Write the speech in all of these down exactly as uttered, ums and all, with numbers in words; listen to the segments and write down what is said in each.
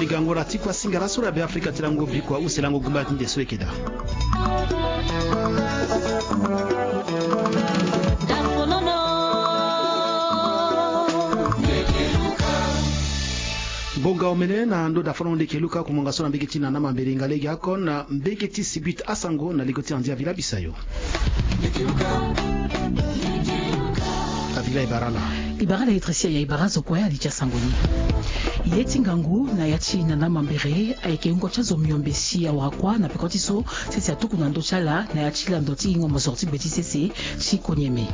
Gango na ti kua singara so la Be Afrika ti lango bikua use lango gumba ti nde so eke daa. Ngonga omene na ndo dafono ndeke luka kumonga so na mbege ti nana mambere inga lege akon na mbege ti sibit asango na ligo ti andia vila bisayo. Avila ibarala. Ibarala etresi ya ibara zo kue ali ti asango ni. Ye ti ngangu na ya ti nana mambere ayeke wungo ti azo miombe si awara kuâ na peko ti so sese atuku na ndö ti ala na ya ti lando ti gingo mosoro ti gbe ti sese ti konyeme.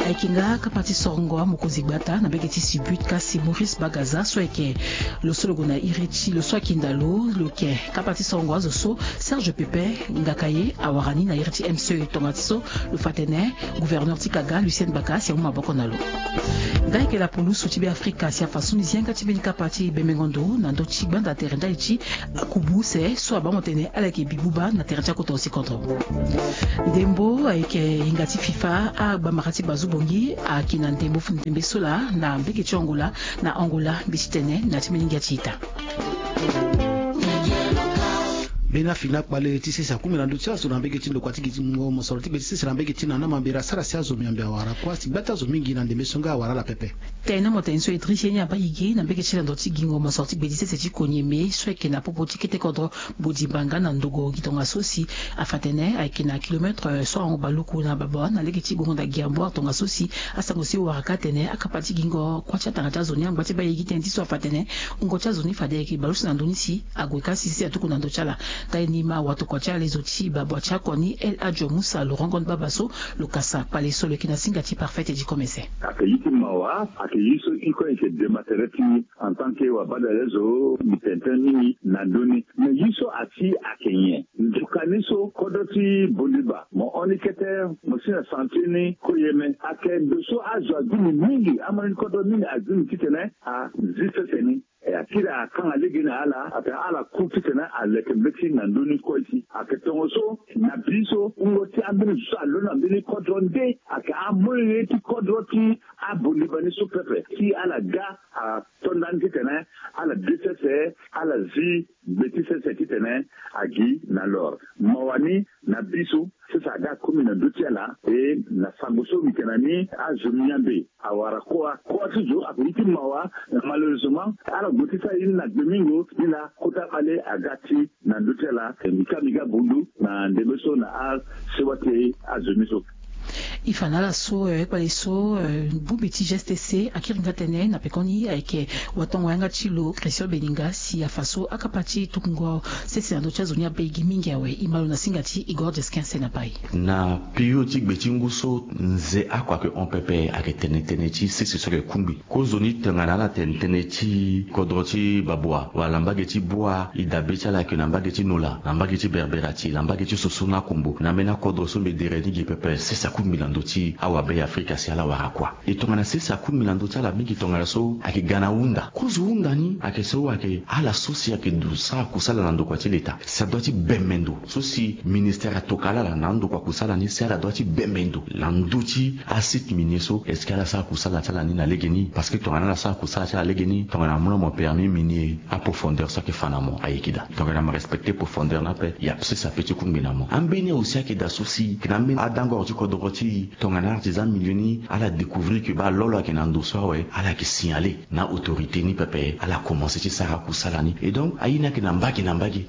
Ayeke nga kapa ti sorongo amokonzi gbata na mbege ti sibut kasi Maurice Bagaza so ayeke lo so lo gue na iri ti lo so akinda lo lo yeke kapa ti sorongo azo so Serge Pepe Ngakaye awara ni na iri ti M C E tonga ti so lo fa atene gouverneur ti kaga Lucien Baka si amu maboko na lo. Nga yeke lapulusu ti Be Afrika si afa so ni zi yanga ti mbeni kapa ti bembengo ndo na ndö ti gbanda tere ndali ti akubu use so abaa mo tene ala yeke bi buba na tere ti akota osi kodro. Ndembo ayeke hinga ti fifa agbamara ti bazu bongi ayeke na ndembo fu ndembe so laa na mbege ti Angola na Angola mbi ti tene na ti mbeni ngia ti ita. Mbeni afini akpale ti sese akumi na ndö ti azo na mbege ti ndokua ti gi ti mungo mosoro ti gbe ti sese na mbege ti nana mambere asara si azo miombe awara kuâ si gba ti azo mingi na ndembe so nga awara ala pepe. Tene mo tene so e diri ye ni abaa gigi na mbege ti lando ti gingo mosoro ti gbe ti sese ti konyeme so ayeke na popo ti kete kodro Bodimbanga na ndogo gi tongaso si afa atene ayeke na kilometre so ahon baluku na babâ na lege ti gongo na gi amboire tongaso si asango si wara ka atene akapa ti gingo kuâ ti atanga ti azo ni angba ti baa ye gi tënë ti so afa atene wungo ti azo ni fade ayeke baleuse na ndö ni si ague ka si si atuku na ndö ti ala. Ndali ni ma watokua ti ala lezo ti babua ti akoni El Hadj Musa lo rongo ni baba so lo kasa kpale so lo yeke na singa ti Parfait ti komese. Ayeke ye ti mawa, ayeke ye so i kue i yeke dema tere ti en tant que wabadale zo mbi tene tënë mingi na ndö ni. Me ye so asi ayeke nyen? Ndoka ni so kodro ti Bondiba mo hon ni kete mo si na sentier ni koyeme ayeke ndo so azo agbi ni mingi, amolenge ti kodro mingi agbi ni titene azi sese ni. E akiri akanga lege na ala atene ala ku titene aleke mbeti na ndö ni kue si ayeke tongaso na bi so wungo ti ambeni zo so alondo na mbeni kodro nde ayeke amolenge ti kodro ti abondiba ni so pepe si ala ga atonda ni titene ala de sese ala zi gbe ti sese titene agi na lor mawa ni na bi so sese aga komi na ndö ti ala. E na sango so mbi yeke na ni azo miambe awara kuâ kuâ ti zo ayeke ye ti mawa. Malheureusement ala gue ti sara ye ni na gbe mingo ni laa kota kpale aga ti na ndö ti ala. Mbi ka mbi ga bundu na ndembe so na asewa ti azo ni so. E fa na ala so kpale so bongbi ti G S T C akiri nga tënë na pekoni ayeke watongo yanga ti lo Christian Beninga si afa so akapa ti tukungo sese na ndö ti azo ni abaa e gi mingi awe. E ma lo na singa ti Igor Jesquin Senapai. Na période ti gbe ti ngu so nze oko ayeke hon pepe ayeke tene tënë ti sese so ayeke kungbi. Kozoni tongana ala tene tënë ti kodro ti Babua wala na mbage ti Bua, e dabe ti ala ayeke na mbage ti Nola, na mbage ti Berberati, na mbage ti Soso na Kombo, na ambeni akodro so mbi dere ni gi pepe sese akungbi na ndö ti awabe ya Afrika si ala wara kuâ. E tongana sese akungbi na ndö ti ala mingi tongana so ayeke ga na hunda. Kozo hunda ni ayeke so ayeke ala so si ayeke du sara kusala na ndokua ti leta si adua ti bembe ndo so si ministère atokala ala na andokua kusala ni si ala dua ti bembe ndo na ndö ti asite minier so. Est-ce que ala sara kusala ti ala ni na legeni? Parce que tongana ala sara kusala ti ala legeni tongana mo na mo permis minier aprofondeur so ayeke fa na mo ayeke daa. Tongana mo respecter profondeur ni ape ya sese ape ti kungbi na mo. Ambeni aussi ayeke daa so si ayeke na ambeni adangoro ti kodoro ti e tongana artisan minier ni ala découvrir que baa lo lo ayeke na ndo so awe ala yeke signaler na autorité ni pepe ala commencer ti sara kusala ni. Et donc aye ni ayeke na mbage na mbage.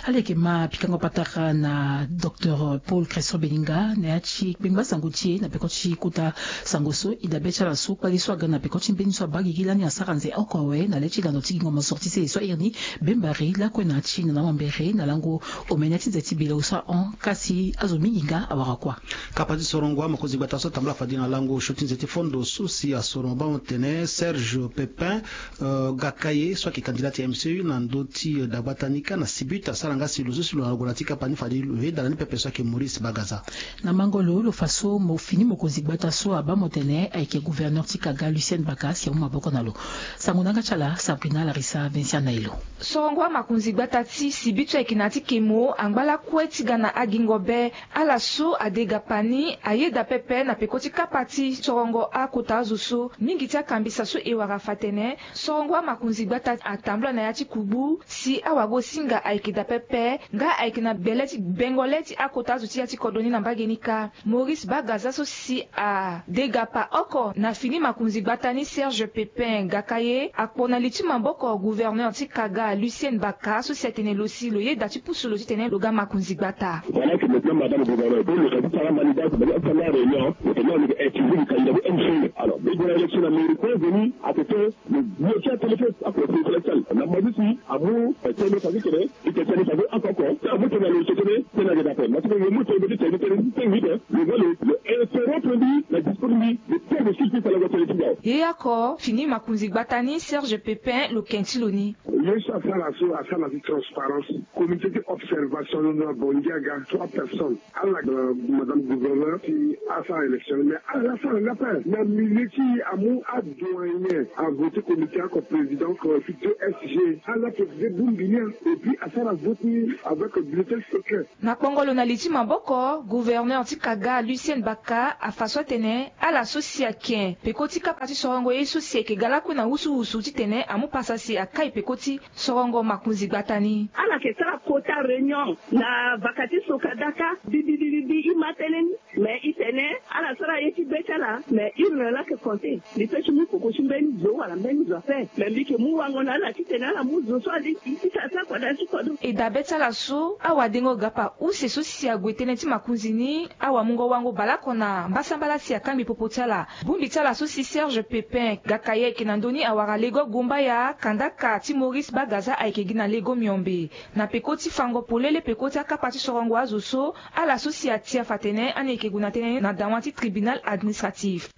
Ala yeke ma pikango patara na docteur Paul Christian Beninga na ya ti kpengba sango ti e na peko ti kota sango so. E dabe ti ala so kpale so aga na peko ti mbeni so abaa gigi lani asara nze oko awe na le ti lando ti gingo mosoro ti sese so airi ni Bembari lakue na ya ti nana mambere na lango omene ti nze ti bele so ahon kasi azo mingi nga awara kuâ. Kapa ti sorongo amokonzi gbata so atambula fade na lango osio ti nze ti fondo so si asoro mabanga tene Serge Pepin Gakaye so ayeke candidat ti M C U na ndö ti dagbata ni kâ na sibit asara Nga si lo so si lo na lo gue na ti kapa ni fade lo yeda na ni pepe so ayeke Maurice Bagaza. Na mango lo lo fa so mo fini mokonzi gbata so abaa mo tene ayeke gouverneur ti kaga Lucien Baka si amu maboko na lo. Sango na yanga ti ala Sabrina Larissa Vincent Nailo. Sorongo amakonzi gbata ti sibi so ayeke na ya ti kemo angba lakue ti ga na agingo be. Ala so ade gapa ni ayeda pepe na peko ti kapa ti sorongo akota azo so mingi ti akambisa so e wara fa tene sorongo amakonzi gbata atambula na ya ti kubu si awagosinga ayeke daa pepe. Nga ayeke na gbele ti bengo le ti akota azo ti ya ti kodro ni na mbage ni kâ. Maurice Bagaza so si ade gapa oko na fini makonzi gbata ni Serge Pepin Gakaye akpo na li ti maboko gouverneur ti kaga Lucien Baka so si atene lo si lo yeda ti pusu lo titene lo ga makonzi gbata. Voilà que maintenant madame gouverneur donc lo ka ti sara manigance bani asala réunion lo tene lo ka utiliser lo ka yina ti M C E. Alors mbi gue na élection na mairie point venu à peu près lo bloqué à téléphone à peu près na ma ti si amu tene fa ti tene. Ite tene fa ti oko oko ti amu tene na lo tene tene ayeke daa ape na ti lo mu tene ti tene ti tene ti tene ti tene lo va lo lo interrompre mbi na discours mbi lo tene lo sirki tene lo tene ti dao. Ye oko fini makonzi gbata ni Serge Pepin lo ken ti lo ni. Ye so asara so asara na ti transparence. Comité ti observation na bongi aga trois personnes. Ala madame gouverneur ti asara élection mais ala la asara nga ape na milieu ti amu adoyen avote comité oko président oko ti deux S G. Ala président bongbi ni. Et puis asara vote ni avec bulletin secret. Na kpongolo na li ti maboko gouverneur ti kaga Lucien Baka afa so atene ala so si aken peko ti kapa ti sorongo ye so si ayeke ga lakue na wusuwusu titene amu pasa si akai peko ti sorongo makonzi gbata ni. Ala yeke sara kota réunion na vaka ti soka daka bibibibibi i ma tënë ni. Mais i tene ala sara ye ti be ti ala mais i rela yeke compter. Mbi pe ti mu koko ti mbeni zo wala mbeni zo ape. Mais mbi yeke mu wango na ala titene ala mu zo so alingbi ti sara ti akodro ti kodro. E dabe ti ala so awadengo gapa use so si ague tënë ti makonzi ni awamungo wango baleoko na mbasambala si akangbi popo ti ala. Bongbi ti ala so si Serge Pepin Gakaye ayeke na ndö ni awara lego Gombaya, kandaka ti Maurice Bagaza ayeke gi na lego Miombe. Na peko ti fango polele peko ti akapa ti sorongo azo so ala so si atia fa tene ani yeke gue na tënë na dawa ti tribunal administratif.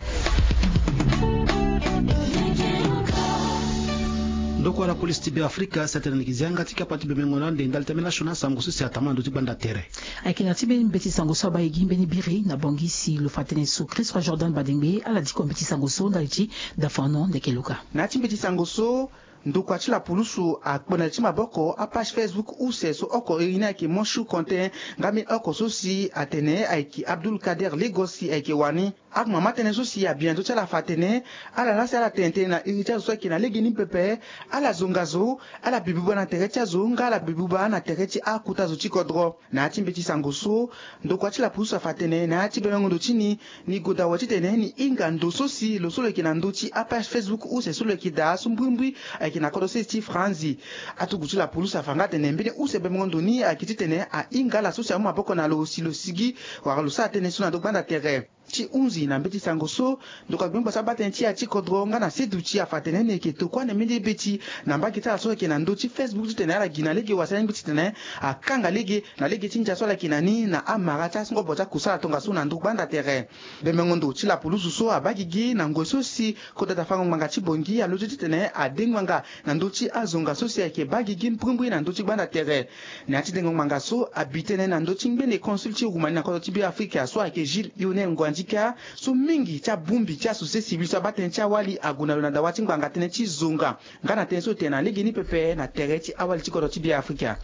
Ndokua na polisi ti Beafrika si atene na yeke zi yanga ti kapa ti bemengo na ande ndali ti ambeni national sango so si atambula na ndö ti gbanda tere. Ayeke na ya ti mbeni mbeti sango so abaa e gi mbeni biri na Bangui si lo fa tënë so Christ Roi Jordan Badengbe ala diko mbeti sango so ndali ti Dafano Ndekeluka. Na ya ti mbeti sango so ndokua ti lapulusu akpo na li ti maboko apage Facebook use so oko iri ni ayeke Monshour Contin nga mbeni oko so si atene ayeke Abdoul Kader Lagos si ayeke wani. Akoma ma tënë so si abi na ndö ti ala fa atene ala laa si ala tene tënë na iri ti azo so ayeke na legeni pepe. Ala zonga zo, ala bi buba na tere ti azo nga ala bi buba na tere ti akota zo ti kodro. Na ya ti mbeti sango so ndokua ti lapulusu afa atene na ya ti bemengo ndo ti ni, ni goda awe titene ni hinga ndo so si lo so lo yeke na ndö ti apage Facebook use so lo yeke daa so mbrimbri ayeke na kodro sese ti Franzi. Atugu ti lapulusu afa nga atene mbeni use bemengo ndo ni ayeke titene ahinga ala so si amu maboko na lo si lo sigi wala lo sara tënë so na ndö gbanda tere. Ti hunzi na mbeti sango so ndokua gbengba so abaa tënë ti ya ti kodro nga na seduti afa atene ni yeke tokua na mbeni beti na mbage ti ala so ayeke na ndö ti Facebook titene ala gi na lege wala si alingbi titene akanga lege na lege ti ndia so ala yeke na ni na amara ti angobo ti akusala tongaso na ndö gbanda tere. Bemengo ndo ti lapulusu so abaa gigi na ngoi so si kodro daa fango ngbanga ti Bangui aloto titene ade ngbanga na ndö ti azonga so si ayeke baa gigi mbrimbri na ndö ti gbanda tere. Na ya ti dengo ngbanga so abi tënë na ndö ti ngbene consul ti Roumanie na kodro ti Beafrika so ayeke Gilles Yone Nguandika so mingi ti abongbi ti asociété civile so abaa tënë ti awali ague na lo na dawa ti ngbanga tënë ti zonga nga na tënë so e tene na legeni pepe na tere ti awali ti kodro ti Beafrika.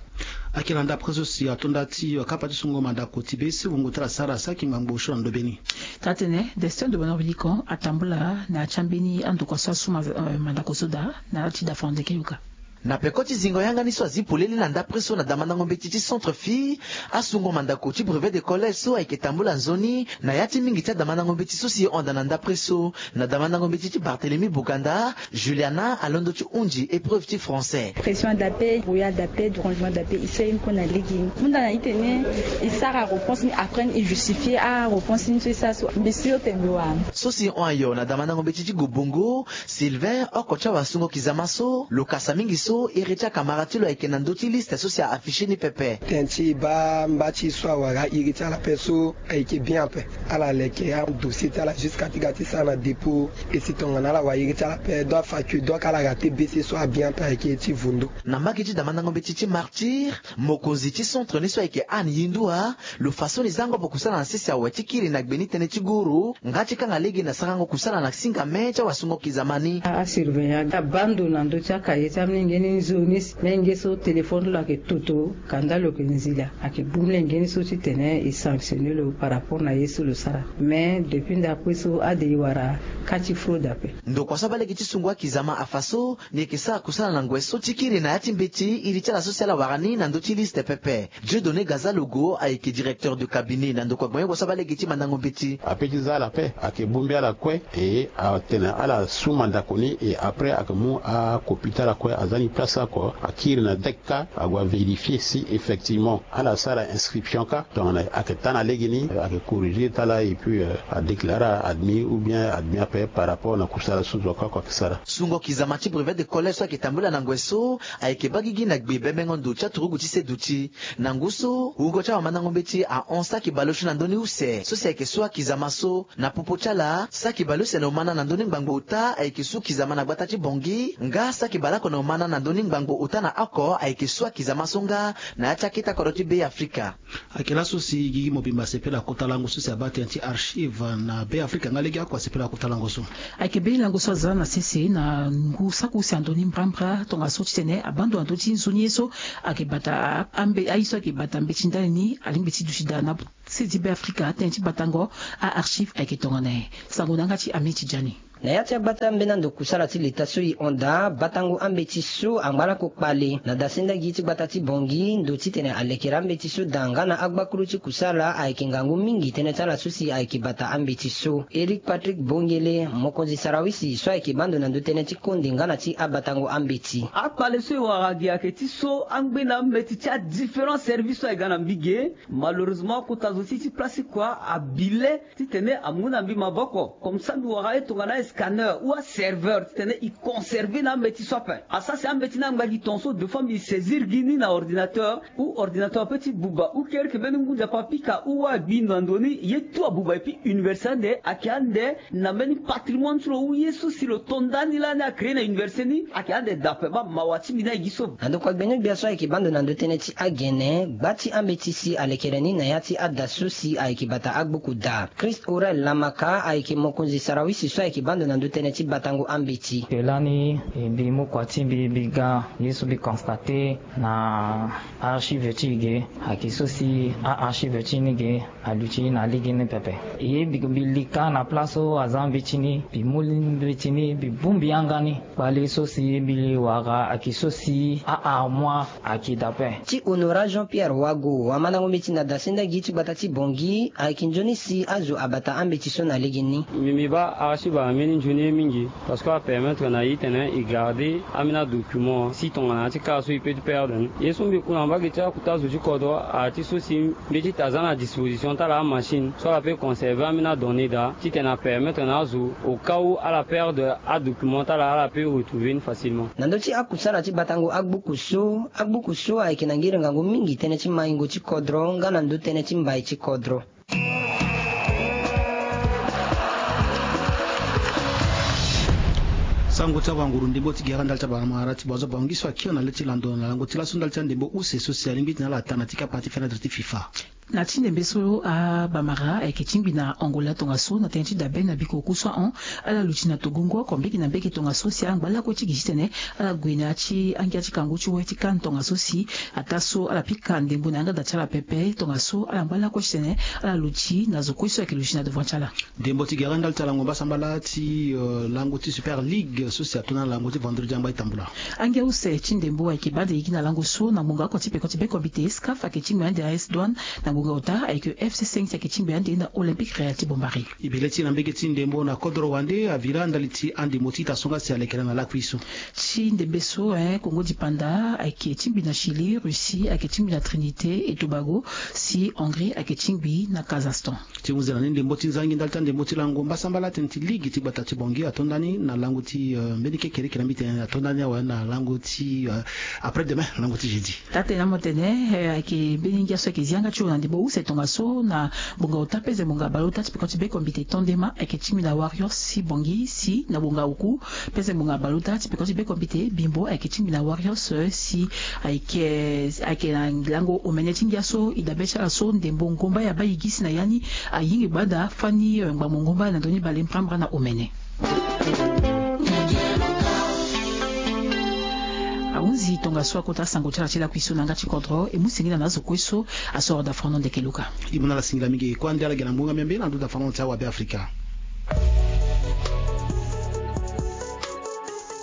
Ayeke na ndapre so si ato nda ti kapa ti sungo mandako ti be si wungo ti ala sara saki ngbangbo osio na ndobe ni. Taa-tënë Destin Dobenor Bilikon atambula na ya ti ambeni andokua so asu mandako so daa na ya ti Dafano Ndekeluka. Na peko ti zingo yanga ni so azi polele na ndapre so na damandango mbeti ti Centre Fille, asungo mandako ti brevet de collège so ayeke tambula nzoni na ya ti mingi ti adamandango mbeti so si e hon daa na ndapre so. Na damandango mbeti ti Barthélemy Boganda, Juliana alondo ti hunzi épreuve ti français. Pression d'appel, brouillard d'appel, dérangement d'appel, e sere ni kue na lege ni. Hunda na e tene e sara réponse ni après ni e justifier aréponse ni so e sara so. Mbi sûr tene mbi wara. So si e hon ayo na damandango mbeti ti Gobongo, Sylvain oko ti awasungo kizama so lo kasa mingi so. so iri ti akamara ti lo ayeke na ndö ti liste so si a affiché ni pepe. Tënë ti baa mba ti so awara iri ti ala ape so ayeke bien ape. Ala leke adossier ti ala jusqu'à ti ga ti sara na dépôt. E si tongana ala wara iri ti ala ape, donc afa que donc ala raté bc so abien ape ayeke ti vundo. Na mbage ti damandango mbeti ti martyr, mokonzi ti centre ni so ayeke anne yindua, lo fa so ni zango ape kusala na sese awe ti kiri na gbe ni tënë ti guru nga ti kanga lege na sarango kusala na singame ti awasungo kizama ni. Asurveillant abando na ndö ti akaye ti amolenge ni nzoni si menge so téléphone ti lo ayeke toto kanda lo yeke nzila, ayeke bu mlenge ni so titene e sanctionner lo par rapport na ye so lo sara. Mais depuis ndakue so ade e wara ka ti fraude ape. Ndokua so abaa lege ti sungu akizama afa so ni yeke sara kusala na ngoi so ti kiri na ya ti mbeti iri ti ala so si ala wara ni na ndö ti liste pepe. Dieudonné Gazalogo ayeke directeur de cabinet na ndokua gbenyogo so abaa lege ti mandango mbeti. Ape ti za ala ape ayeke bongbi ala kue. E atene ala su mandako ni e après ayeke mu akopi ti ala kue aza ni place oko akiri na dek ka ague avérifier si effectivement ala sara inscription ka tongana ayeke taa na lege ni ayeke corriger ti ala et puis adéclare ala admis ou bien admis ape par rapport na kusala so zo ka oko ayeke sara. Sungo kizama ti brevet de collège so ayeke tambula na ngoi so ayeke baa gigi na gbe bembengo ndo ti aturugu ti seduti. Na ngu so wungo ti awamandango mbeti ahon saki baleuse na ndö ni use so si ayeke su akizama so. Na popo ti ala saki baleuse na omana na ndö ni ngbangbo ota ayeke su kizama na gbata ti bongi nga saki baleoko na omana na ndö ni ngbangbo ota na oko ayeke su akizama so nga na ya ti akete akodro ti be afrika. Ayeke laso si gigi mobimba asepela kota lango so si abaa tënë ti archive na be afrika nga lege oko asepela kota lango so. Ayeke be lango so aza na sese na ngu saki use na ndö ni mbrambra tongaso titene abando na ndö ti nzoni ye so ayeke bata ambe aye so ayeke bata mbeti ndali ni alingbi ti duti daa na sese ti be afrika tënë ti batango. Aarchive ayeke tongana nyen? Sango na yanga ti ami ti jani. Na ya ti agbata ambeni ando kusala ti leta so e hon daa batango ambeti so angba lako kpale na dasendagi ti gbata ti bongi ndo titene alekere ambeti so daa nga na agbakuru ti kusala ayeke ngangu mingi tënë ti ala so si ayeke bata ambeti so. Éric Patrick Bongele mokonzi sarawisi so ayeke baa ndo na ndö tënë ti konde nga na ti abatango ambeti. Akpale so e wara gi ayeke ti so angbeni ambeti ti adifférent service so ayeke ga na mbige. Malheureusement kota zo ti ti place ti kua abi le titene amu na mbi maboko comme ça mbi wara ye tongana escanneur ou aserveur titene e conserver na ambeti so ape. Asara si ambeti ni angba gi tongaso deux fois mbi saisir gi ni na ordinateur ou ordinateur ape ti buba ou kereke mbeni ngu nzapa apika ou wâ agbi na ndo ni ye tout abuba epui université ande ayeke ande na mbeni patrimoine ti lo ou ye so si lo to ndani lani acréer na université ni ayeke ande daa ape baa mawa ti mbi ni aye gi so. Na ndokua gbenia-gbia so ayeke baa ndo na ndö tënë ti agene gba ti ambeti si alekere ni na ya ti ada so si ayeke bata agbuku daa. Christ Aurel Lamaka ayeke mokonzi sarawisi so ayeke baa ndo na ndö tënë ti batango ambeti. Mbi lani mbi mu kua ti mbi mbi ga ye so mbi constate na archive ti e ge ayeke so si aarchive ti ni ge aluti na lege ni pepe. Ye mbi li kâ na place so aza mbeti ni mbi mu mbeti ni mbi bongbi yanga ni. Kpale so si mbi wara ayeke so si aarmoire ayeke daa ape. Ti honora jean pierre wago wamandango mbeti na dasendagi ti gbata ti bongi ayeke nzoni si azo abata ambeti so na lege ni. Mbi mbi baa archive ambeni nzoni ye mingi. Parce que apermettre na e titene e garder ambeni adocument si tongana ya ti kara so e peut ti perdre ni ye so mbi ku na mbage ti akota zo ti kodro aya ti so si mbeti ti aza na disposition ti ala amachine so ala peut conserver ambeni adonnée daa titene apermettre na azo au cas où ala perdre adocument ti ala ala peut retrouver ni facilement. Na ndö ti akusala ti batango agbuku so agbuku so ayeke na ngiri ngangu mingi tënë ti maingo ti kodro nga na ndö tënë ti mbai ti kodro. Sango ti awanguru ndembo ti gere ndali ti abamara ti bozo bangi so akiri na le ti lando na lango ti laso ndali ti andembo use so si alingbi ti na ala taa na ti kapa ti fenêtre ti fifa. Na ti ndembe so abamara ayeke tingbi na angola tongaso na tënë ti dabe na biko oku so ahon ala luti na togongo oko mbege na mbege tongaso si ala ngba lakue ti gi titene ala gue na ya ti angia ti kangu ti wai ti kane tongaso si ataa so ala pika ndembo na yanga da ti ala pepe tongaso ala ngba lakue titene ala luti na zo kue so ayeke luti na devant ti ala. Ndembo ti gere ndali ti alango mbasambala ti lango ti super ligue so si ato na lango ti vendredi angba e tambula. Angia use ti ndembo ayeke baa nde e gi na lango so na ngonga oko ti peko ti be comité scaf ayeke ti ngbe ande a s douane na Ngonga ota ayeke F C cinq si ayeke tingbi ande na Olympique Real ti Bombari. E bele ti na mbege ti ndembo na kodro wande avira ndali ti andembo ti ita so nga si alekere na lakui so. Ti ndembe so, eh, Congo dipanda ayeke tingbi na Chili, Russie ayeke tingbi na Trinité et Tobago, si Hongrie ayeke tingbi na Kazakhstan. Ti hunzi na ni ndembo ti nzangi ndali ti andembo ti lango mbasambala tene ti ligi ti gbata ti Bangui atonda ni na lango ti, eh, mbeni kekereke na mbi tene atonda ni awe na lango ti, eh, après demain, lango ti jeudi. Taa-tene amu atene, eh, ayeke mbeni ngia so ayeke zi yanga ti lo na ndembo use tongaso na ngbonga ota peze ngbonga baleota ti peko ti bekombite Tondema ayeke tingbi na Warriors ti Bangui, si na ngbonga oku peze ngbonga baleota ti peko ti bekombite Bimbo ayeke tingbi na Warriors, eh, si ayeke, ayeke na lango omene ti ngia so e dabe ti ala so ndembo ngomba ya Bayigisi na ya ni ayingi gbada fani, eh, ngbambo ngomba na ndö ni bale mbrambra na omene. Ahunzi tongaso akota sango ti ala ti lakui so na yanga ti kodro, e mu singila na azo kue so asoro da fano ndeke luka. E mu na ala singila mingi, e kue ande ala ge na ngbonga miambe na ndö da fano ti awabe Afrika.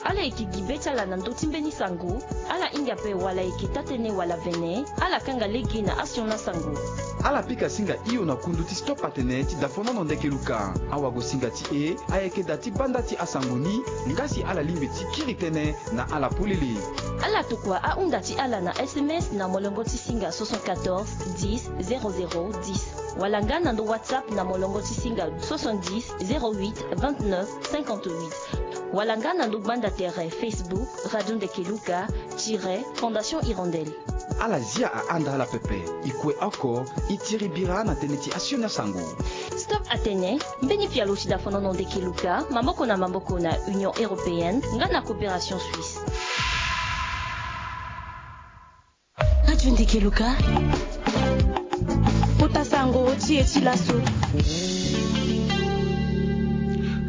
Ala yeke gi be ti ala na ndö ti mbeni sango, ala hinga ape wala ayeke taa-tënë wala vene, ala kanga lege na asioni asango. Ala pika singa hio na kundu ti stop atene ti da fano na ndeke luka. Awagosinga ti e ayeke da ti banda ti asango ni, nga si ala lingbi ti kiri tënë na ala polele. Ala tokua ahunda ti ala na S M S na molongo ti singa soixante-quatorze dix zéro zéro dix, wala nga na ndo WhatsApp na molongo ti singa soixante-dix zéro huit vingt-neuf cinquante-huit, wala nga na ndo gbanda tere Facebook Radio Ndeke Luka tiret Fondation Hirondelle. Ala zia ahanda ala pepe. E kue oko, e tiri bira na tënë ti asioni asango. Stop atene, mbeni pialo ti da fano na ndeke luka, maboko na maboko na Union Européenne, nga na Coopération Suisse. Radio Ndeke Luka. Kota sango ti e ti laso.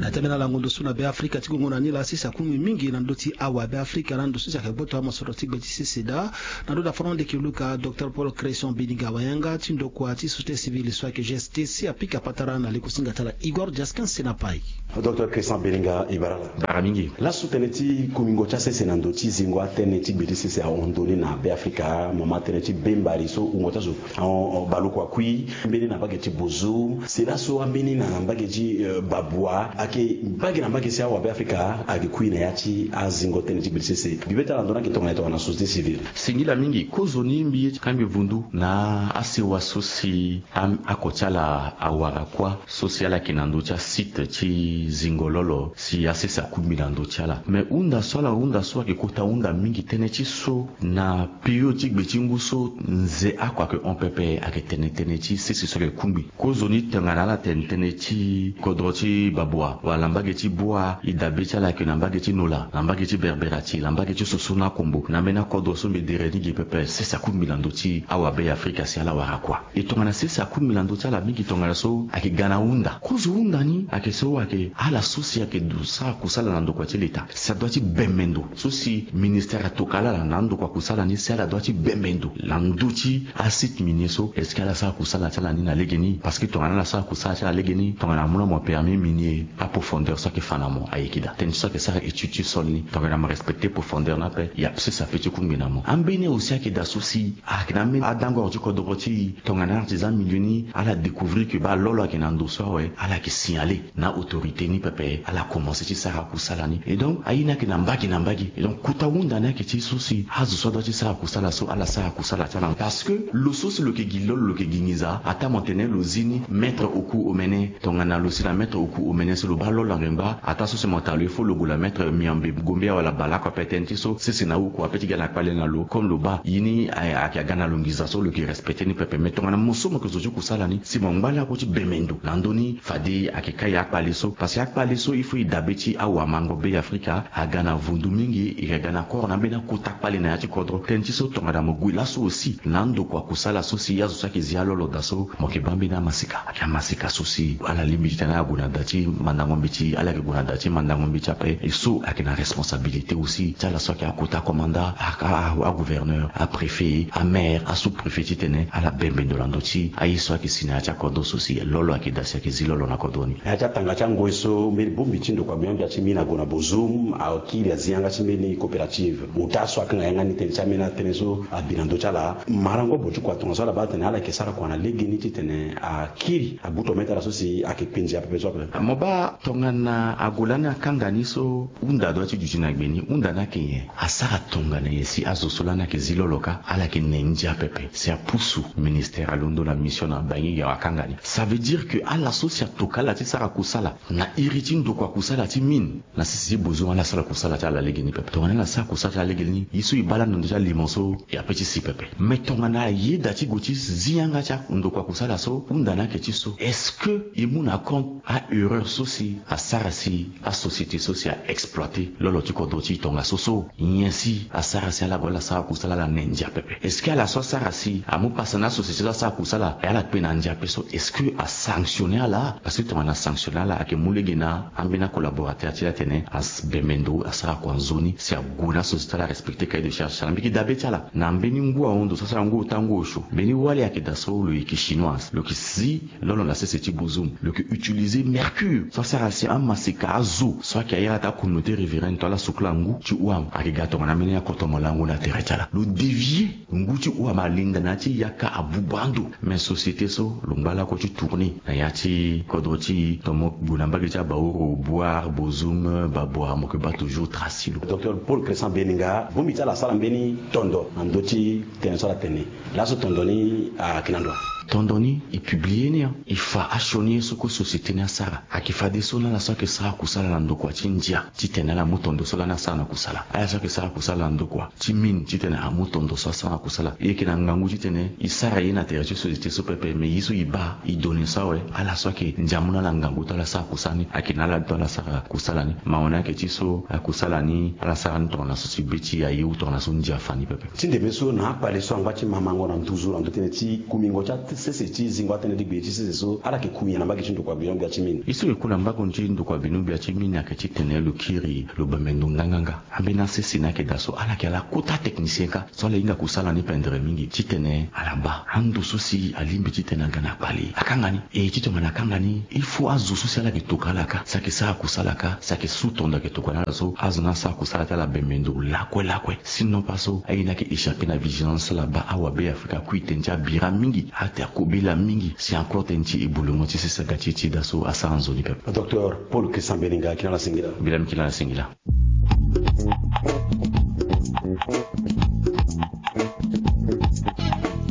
Na teme na lango ndo so na Be Afrika ti gongo na ni laa sese akungbi mingi na ndö ti awabe Afrika na ndo so si ayeke gboto amosoro ti gbe ti sese daa. Na ndö da fano ndeke luka, Docteur Paul Cresson Bininga, wayanga ti ndokua ti société civile so ayeke G S T, si apika patara na leko singa ti ala Igor Diaskin Senapai. Docteur Cresson Bininga, e bara ala. Bara mingi. Laso tënë ti kungbingo ti asese na ndo ti zingo atënë ti gbe ti sese ahon ndo ni na Be Afrika, mama tënë ti bembari so wungo ti azo ahon, ahon baleoko akui, mbeni na mbage ti Bozo, si laso ambeni na mbage ti, eh, Babwa, ayeke mbage na mbage si awabe Afrika ayeke kui na ya ti azingo tënë ti gbe ti sese. Bibe ti ala na ndo ni ayeke tongana e tongana société civile. Singila mingi, kozoni mbi ye ti kangbi vundu na asewa so si a, ako ti ala awara kuâ, so si ala yeke na ndö ti asite ti zingo lolo, si asese akungbi na ndö ti ala. Me hunda so ala hunda so ayeke kota hunda mingi, tënë ti so na période ti gbe ti ngu so nze ako ayeke hon pepe, ayeke tene tënë ti sese so ayeke kungbi. Kozoni tongana ala tene tënë ti kodro ti Babwa, wala mbage ti Bwa, e dabe ti ala ayeke na mbage ti Nola, na mbage ti Berberati, na mbage ti Soso na Kombo, na ambeni akodro so mbi dere ni gi pepe, sese akungbi na ndö ti awabe ya Afrika si ala wara kuâ. E tongana sese akungbi na ndö ti ala mingi tongana so ayeke ga na hunda. Kozo hunda ni ayeke so ayeke ala so si ayeke du sara kusala na ndokua ti leta, si adua ti bembe ndo. So si ministère atokua ala na ndokua kusala ni, si ala dua ti bembe ndo na ndö ti asite minier so, est ce que ala sara kusala ti ala ni na legeni? Parce que tongana ala sara kusala ti ala legeni, tongana amu na mo permis minier, aprofondeur so ayeke fa na mo ayeke daa. Tënë ti so ayeke sara étude ti sol ni, tongana mo respecter profondeur ni ape, ya sese ape ti kungbi na mo. Ambeni aussi ayeke daa so si ayeke na ambeni adangoro ti kodoro ti e, tongana artisan minier ni, ala découvrir que baa lo lo ayeke na ndo so awe, ala yeke signaler na autorité ni pepe, ala commencer ti sara kusala ni. Et donc aye ni ayeke na mbage na mbage. Et donc kota hunda ni ayeke ti so si azo so adua ti sara kusala so, ala sara kusala ti ala. Parce que lo so si lo yeke gi lo lo, lo yeke gi nginza, ataa mo tene lo zi ni, mettre au coût omene. Tongana lo si na mettre au coût omene so, lo baa lo lo angbengba, ataa so si mo taa lo, il faut lo gue na mettre miombe gombe wala baleoko ape. Tënë ti so sese na oko ape ti ga na kpale na lo, comme lo baa ye ni ayeke aga na lo nginza so, lo yeke respecter ni pepe. Mais tongana mo so mo yeke zo ti kusala ni, si mo ngba lakue ti bembe ndo na ndö ni, fade ayeke kai akpale so. Parce que akpale so, il faut e dabe ti awamango Be Afrika aga na vundu mingi, e yeke ga na koro na ambeni akota kpale na ya ti kodro. Tënë ti so tongana mo gue laso aussi na andokua kusala so si azo so ayeke zi alo lo daa so, mo yeke baa ambeni amasika. Ayeke amasika so si ala lingbi titene ala gue na da ti mandango Mbeti ala yeke gue na da ti mandango mbeti ape. E so ayeke na responsabilité aussi ti ala so ayeke akota commandant, a, a, a, agouverneur, apréfet, amaire, asous-préfet titene ala bembe ndo na ndö ti aye so ayeke si na ya ti akodro so si lolo ayeke daa si ayeke zi lolo na kodro ni. Na ya ti atanga ti angoi so mbeni bongbi ti ndokua gbia-gbia ti mini ague na Bozoum, akiri azi yanga ti mbeni coopérative. Mu taa so akanga yanga ni tënë ti ambeni atënë so abi na ndö ti ala. Marango bo ti kua tongaso ala baa atene ala yeke sara kua na legeni titene akiri abutu ome ti ala so si ayeke kpe ndia pepe so ape. Mo baa tongana ague lani akanga ni so hunda adua ti duti na gbe ni, hunda ni ayeke nyen? Asara tongana nyen si azo so lani ayeke zi lolo kâ ala yeke ne ndia pepe si apusu ministère alondo na mission na bangi ya akanga ni. Ça veut dire que ala so si atoka ala ti sara kusala na iri ti ndokua kusala ti mine na sese ti Bozoum, ala sara kusala ti ala legeni pepe. Tongana ala sara kusala ti ala legeni, ye so e baa lani na ndö ti alimo so e ape ti si pepe. Mais tongana ayeda ti gue ti zi yanga ti andokua kusala so, hunda ni ayeke ti so, est-ce que e mu na compte a-erreur so si asara si asociété so si a-exploiter lolo ti kodro ti e tongaso so? Nyen si asara si ala gue ala sara kusala ala ne ndia pepe? Est-ce que ala so asara si amu pasa na asociété so asara kusala e ala kpe na ndia ape so, est-ce que asanctionner ala? Parce que tongana asanctionner ala, ayeke mu lege na ambeni acollaborateur ti e atene abembe ndo asara kua nzoni si ague na asociété ti ala arespecter cahier de charge ti ala. Mbi yeke dabe ti ala na mbeni ngu ahon ndo so asara ngu ota ngu osio, mbeni wali ayeke daa so lo yeke chinoise, lo yeke zi lolo na sese ti Bozoum, lo yeke utiliser mercure so asara si amaseka azo so ayeke airi ata communauté riveraine to ala sukula ngu ti houam ayeke ga tongana ambeni akoto malango na tere ti ala. Lo dévier ngu ti houam, alinda na ya ti yaka abuba ando. Mais société so lo ngba lakue ti tourner na ya ti kodro ti e, tomo gue na mbage ti Baoro, Bouar, Bozoum, Baboua, mo yeke baa toujours trace ti lo. Docteur Paul Crescent Beninga, bongbi ti ala asara mbeni tondo na ndö ti tënë so ala tene. Laso tondo ni ayeke na ndo? Tondo ni e publier ni, e fa asioni ye so kue société ni asara. Ayeke fadeso na ala so ayeke sara kusala na ndokua ti ndia titene ala mu tondo so lani asara na kusala. Ala so ayeke sara kusala na ndokua ti mine titene amu tondo so asara na kusala. E yeke na ngangu titene e sara ye na tere ti société so pepe, mais ye so e baa e donner so awe, ala so ayeke ndia amu na ala ngangu ti ala sara kusala ni ayeke na ala ndo ala sara kusala ni. Mawa ni ayeke ti so akusala ni ala sara ni tongana so si be ti e aye ou tongana so ndia afa ni pepe. Ti ndembe so na akpale so angba ti mamango na nduzu na ndö tënë ti kumingo ti asese ti zingo atënë ti gbe ti sese so ala yeke ku nyen na mbage ti ndokua gbia-gbia ti mine? Ye so e ku na mbage ti ndokua gbia-gbia ti mine ayeke titene lo kiri lo bembe ndo nganganga. Ambeni asese ni ayeke daa so ala yeke ala kota technicien kâ so ala hinga kusala ni pendere mingi titene ala baa ando so si alingbi titene aga na kpale akanga ni. E ti tongana akanga ni, il faut azo so si ala yeke toka ala kâ, si ayeke sara kusala kâ, si ayeke su tondo ayeke toka na ala so, azo ni asara kusala ti ala bembe ndo lakue lakue. Sinon pas so aye ni ayeke échapper na vigilance ti ala. Baa awa Be Afrika akui tënë ti abira mingi, ate akobela mingi si encore tënë ti ebulongo ti sese aga ti e ti daa so asara nzoni pepe. Docteur Paul Crescent Beninga, kina la singila. Bila mi kina la singila.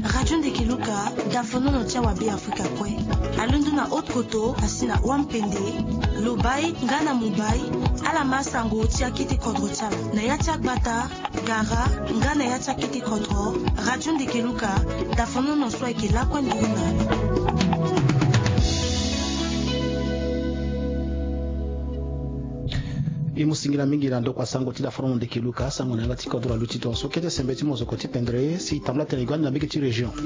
Radio Ndeke Luka, dafonono ti awa Be Afrika kue. Alondo na Haute-Kotto, asi na Wampende, Lobaye, nga na Mumbai, ala ma sango ti akete kodro ti ala. Na ya ti agbata, gara, nga na ya ti akete kodro, Radio Ndeke Luka, dafonono so ayeke lakue nduru na ala. E mu singila mingi na ndokua sango ti dafonono Ndeke Luka, sango na yanga ti kodro aluti tongaso. Kete sembe ti mozoko ti pendere si tambula tene e gue ande na mbage ti région.